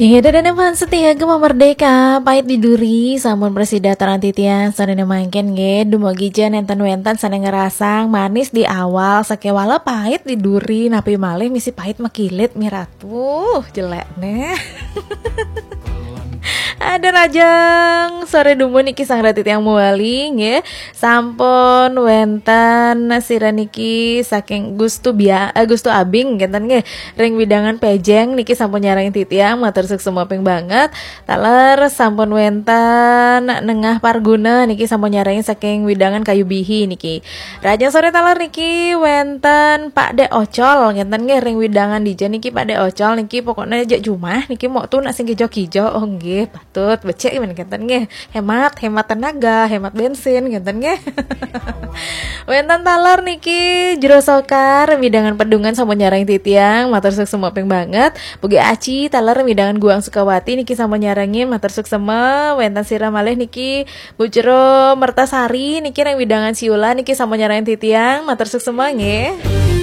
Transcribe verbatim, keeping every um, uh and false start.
Ida dan fans setia Gema Merdeka, pahit di duri, sampun prasida taler titiang, sadaya mangkin nggih, dumugi ja nénten wénten sané ngrasang manis di awal, sakéwala pahit di duri, napi malih misi pahit makilit, mi ratu, jelék né. Ada rajang, soré dumun niki sang ratu tiang muali, nggih. Sampun wénten sira niki saking Gustu Bia-, eh, Gustu Abing, ngénten nggih. Ring widangan Pejeng niki sampun nyarengin titiang, matur suksma ping banget. Taler sampun wénten Nengah Parguna niki sampun nyarengin saking widangan Kayu Bihi niki. Rajang soré taler niki wénten Pak Dek Ocol, ngénten nggih, ring widangan dija niki Pak Dek Ocol niki pokoknya jak jumah niki mok tu nak sing kijo-kijo. Oh nggih, patut becik men ngénten nggih. Hemat, hemat tenaga, hemat bensin ngénten nggih. Wénten taler niki Jero Sokar, widangan Pedungan sampun nyarengin titiang, matur suksma ping banget. Bugi Aci taler widangan Guang Sukawati niki sampun nyarengin, matur suksma. Wénten sira malih niki Bu Jero Mertasari niki ring widangan Siula niki sampun nyarengin titiang, matur suksma nggih.